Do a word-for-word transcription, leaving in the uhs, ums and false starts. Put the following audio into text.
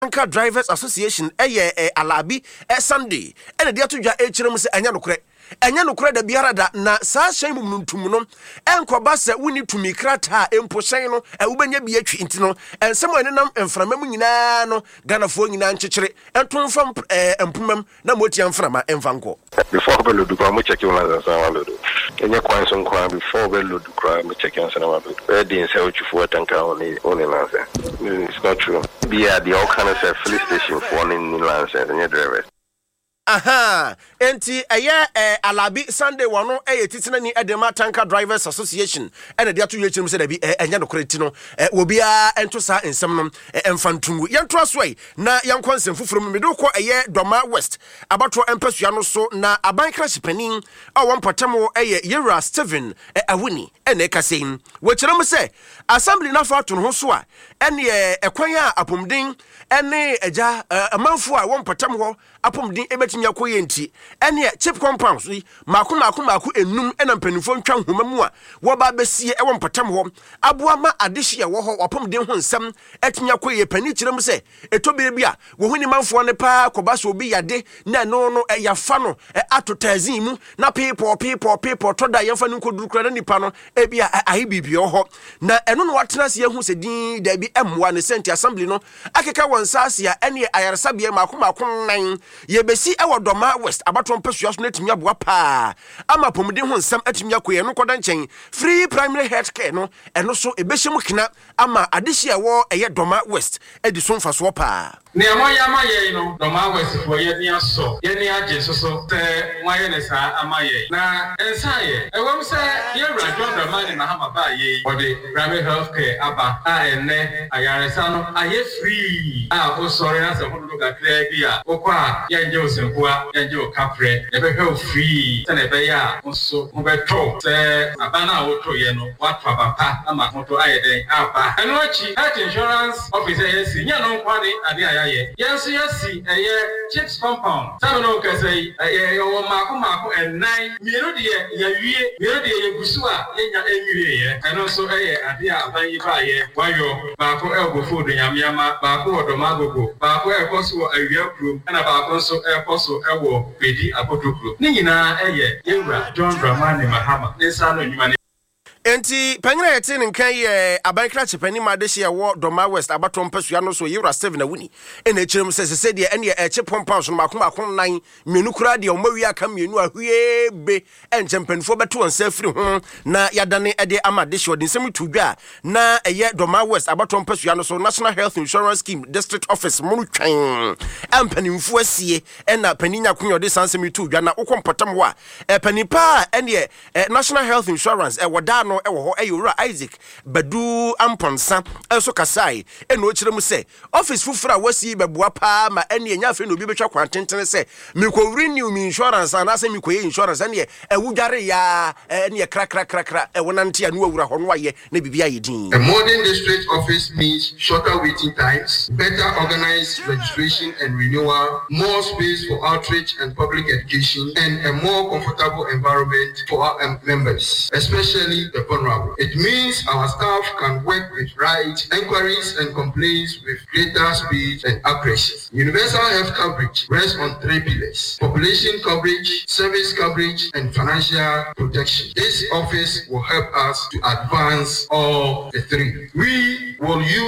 Tanker Drivers Association ɛyɛ ɛ Alabi ɛ Sunday ɛna de ato dwa ɛkyerɛ mu sɛ ɛnyɛ nokorɛ, ɛnyɛ nokorɛ da biara da, na saa hyɛn mu ntum no ɛnkɔba sɛ wonni tumi krataa a mpo hyɛn no wobɛnya bi atwi. Nti no ɛnsɛm a ɛnenam mframa mu nyinaa no, Ghanafoɔ nyinaa nkyekyere ɛnto mfa mpomam na moatia mframa ɛmfa nkɔ. Before wobɛ load koraa, mo check wo license na wa load. Ɛnyɛ kwan so nkoaa, before wobɛ load koraa, mo check ansa na wa load. Ɛyɛ den sɛ wotwi fuel tanker wo ne wo ne license. It's not true. Bia deɛ ɔka no sɛ filling station foɔ no nni license, ɛnyɛ drivers. Aha, enti ɛyɛ ɛ Alabi Sunday, wɔno ɛyɛ titenani ɛde ma Tanker Drivers Association, ɛna de ato yɛ kyerɛm sɛ dabi, ɛ ɛnyɛ nokorɛ. Ti no ɛ obiara ɛnto saa nsɛm no ɛ ɛmfa ntungu. Yɛnto aso yi na yɛnkɔ nsɛm foforɔ mu. Mede kɔ ɛyɛ Dɔma West abatoɔ mpasua no so, na aban krahye panin a wɔn mpɔtam ɛyɛ Yɛwura Stephen ɛ Awuni ɛna ɛkasa yi. Wɔkyerɛ mu sɛ assembly n'afa ato ne ho so a, ɛneɛ ɛkwan a apɔmuden ɛne agya amanfoɔ a wɔn mpɔtam hɔ apɔmuden ɛbɛtumi akɔ yɛ nti, ɛneɛ CHPS compounds yi maako maako maako enum ɛna mpanimfoɔ ntwa nhoma mu a wɔba abɛsie ɛwɔ mpɔtam hɔ aboa ma adehye a ɛwɔ hɔ apɔmuden ho nsɛm ɛtumi akɔ yɛ. Panin kyerɛ mu sɛ ɛtɔ bere bi a wɔn ni manfoɔ no paa kɔba sɛ obi yade na ɛno no ɛyafa no ato taxi mu na peepɔɔ peepɔɔ peepɔɔ tɔ da yɛmfa no nkɔduru kora na nipa no ebi a ahe biribi wɔ hɔ na ɛno na watena ase ahu sɛ din daabi ɛmmoa ne sɛnti assembly no akeka wɔn nsa ase a, ɛne ayaresabea maako maako nan yɛbɛsi ɛwɔ Dɔma West abatoɔ mpasua so no atumi aboa paa ama apɔmuden ho nsɛm atumi akɔ yɛn no nkɔda nkyɛn. Free primary health care no, ɛno so ɛbɛhyɛ mu kena ama adehye a ɛwɔ ɛyɛ Dɔma West adi so mfasoɔ paa. Nea moayɛ ama yɛn no, Dɔma Westfoɔ, yɛni asɔ, yɛni agye nso so sɛ moayɛ ne saa ama yɛn. Na ɛnsa yɛ ɛwɔm sɛ yɛwura John Dramani Mahama baa yɛi, ɔde primary health care aba a ɛnnɛ ayaresa no ayɛ free a wosɔre na sɛ ho dodo kakraa bi a wokɔ a, yɛngye wo sempoa, yɛngye wo kaprɛ, yɛbɛhwɛ wo free sɛnea ɛbɛyɛ a wo nso ho bɛtɔ sɛ aba no a wotoyɛ no, woato aba pa ama ho to ayɛ dɛn aba. Ɛno akyi, health insurance office a yɛsi nyɛ no nkwa ne ade a yɛayɛ. Yɛn nso yɛsi ɛyɛ CHPS compound. Sɛ me ne wo kasa yi, ɛyɛ yɛwɔ mmaako mmaako ɛnan. Mmienu deɛ yɛawie, mmienu deɛ yɛgu so a yɛnya ɛnwieɛ. Ɛno nso ɛyɛ ade a aban yi baayɛ wayɔ. Baako ɛwɔ Bofodo Nyameama, baako wɔ Dɔma Agogo, baako ɛrekɔ so wɔ Awia kurom, ɛna baako nso ɛrekɔ so ɛwɔ Bedi Akoto kurom. Ne nyinaa ɛyɛ yɛwura John Dramani Mahama ne nsa ano nnwuma ne. Enti panyin a yɛte ne nkan yɛ aban krakye panin ma adehye ɛwɔ Dɔma West abatoɔ mpasua no so, Yɛwura Stephen Awuni, ɛna ɛkyerɛ mu sɛ sɛsɛ deɛ ɛneɛ ɛkye compounds no maako maako nan, mmienu koraa deɛ ɔma wie, aka mmienu a hwie be ɛnkyɛ mpanimfoɔ bɛto wɔn nsa afiri ho na yɛadane ɛde ama adehye. Ɔde nsɛm to dwa a na ɛyɛ Dɔma West abatoɔ mpasua no so National Health Insurance Scheme district office mu no twɛn a mpanimfoɔ asie, ɛna panin nyakonya ɔde saa nsɛm yi to dwa. Na wokɔ mpɔtam hɔ a, ɛpanin paa ɛneɛ National Health Insurance ɛwɔ daa no ɛwɔ hɔ ɛyɛ Owura Isaac Badu Ampɔnsa nso kasae, ɛna ɔkyerɛ mu sɛ office foforɔ a wasi bɛboa paa ma ɛne ɛnya afei na obi bɛtwa kwan tentene sɛ mekɔ renew me insurance anaasɛ mekɔyɛ insurance. Ɛneɛ ɛwo dware yaa, ɛneɛ krakrakrakra ɛwo nante a ne wawura hɔ no ayɛ na biribi ayɛ din. A modern district office means shorter waiting times, better organized registration and renewal, more space for outreach and public education, and a more comfortable environment for our um, members, especially the vulnerable. It means our staff can work with right enquiries and complaints with greater speed and accuracy. Universal health coverage rests on three pillars: population coverage, service coverage, and financial protection. This office will help us to advance all the three. We will use